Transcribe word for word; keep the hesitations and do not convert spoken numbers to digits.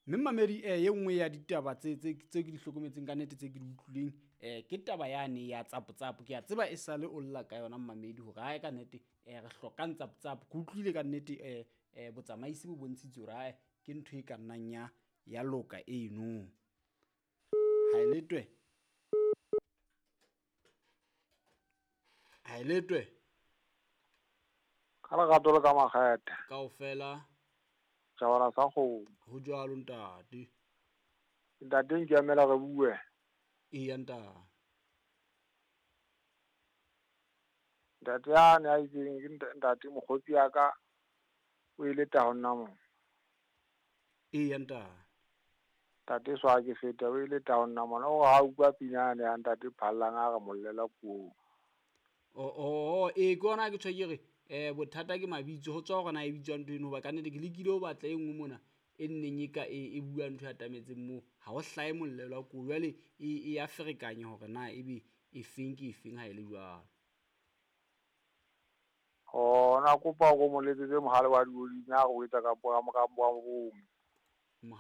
Mme mamedi eh ye nngwe ya ditaba tse tse tse ke di hlokometseng ka nnete tse ke di utlwileng eh ke taba yane ya tsapo-tsapo. Ke a tseba e sale o lla ka yona mmamedi hore ae ka nnete eh re hlokang tsapo-tsapo. Ke utlwile ka nnete eh eh botsamaisi bo bontshitse hore ae ke ntho e ka nnang ya ya loka eno. Ha e letwe. Ha e letwe. Ka lerato le ka makgethe. Kaofela. Tjhabana sa kgomo. Ho jwalo ntate. Ntate Nkemela re bue. Eya ntate. Ntate yane a itseng ke ntate mokgotsi ya ka o ile ta ho nna mo. Eya ntate. Ntate swa ke feta o ile ta ho nna mona o ha utlwa pina yane ya ntate Phallang a re mollela puong. Oh oh eh ke ona ke tjho ke re eh bothata ke mabitso ho tswa hore na e bitswa ntho eno hoba ka nnete ke lekile ho batla e nngwe mona e nneng e ka e, e bua ntho e atametseng moo ha ho hlahe mollelo wa koo jwale e e ya ferekanya hore na ebe e feng ke e feng ha e le jwalo. Oh na kopa o mo letsetse mohale wa dioding a re o etsa ka ka ka bo.